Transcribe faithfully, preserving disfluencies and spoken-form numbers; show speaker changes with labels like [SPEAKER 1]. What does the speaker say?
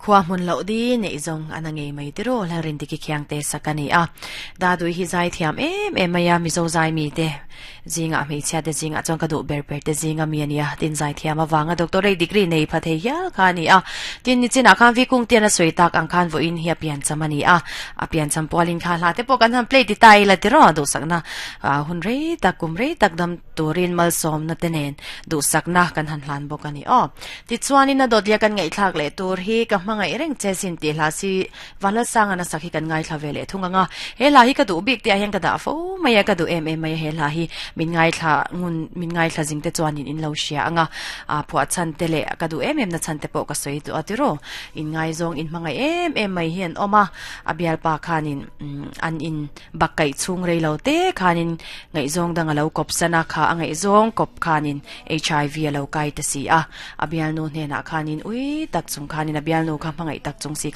[SPEAKER 1] Khua hmun loh di neih zawng a na ngei mai tiro la rin diki khiang te sakani a da dui hi zai thiam em em mai a mizo zai mi te zinga hmeichhia te zinga chuan ka duh ber ber te zinga mi ania tin zai thiam awanga doctorate degree nei pha thei hial kha ani a tin ni chinah khan vi kung tian a sawi tak ang khan vawiin hi a pian cham ani a a pian cham pualin kha hla te pawh kan han play ti ta ila tiro duhsakna hun rei tak kum rei tak dam turin malsawm na te nen duhsakna kan han hlan bawk ani aw tichuanin a dawtlia kan ngaihthlak leh tur hi ka hmangaih reng che sin tih hla si vanlal sanga na sak hi kan ngaithla ve leh thung anga he hla hi ka duh bik te ah hian ka dah fo mai a ka duh em em mai a he hla hi min ngaithla ngun min ngaithla zing te chuanin in lo hria anga a phuah chhan te leh ka duh em em na chhan te pawh ka sawi duh a tiro in ngaizawng in hmangaih em em mai hi an awm a a bialpa khanin an in bak kaih chhung rei lo te khanin ngaihzawng dang a lo kawp sana kha a ngaihzawng kawp khanin H I V a lo kai ta si a a bialnu hnenah khanin ui tak chung khanin a bialnu kha hmangaih tak chung si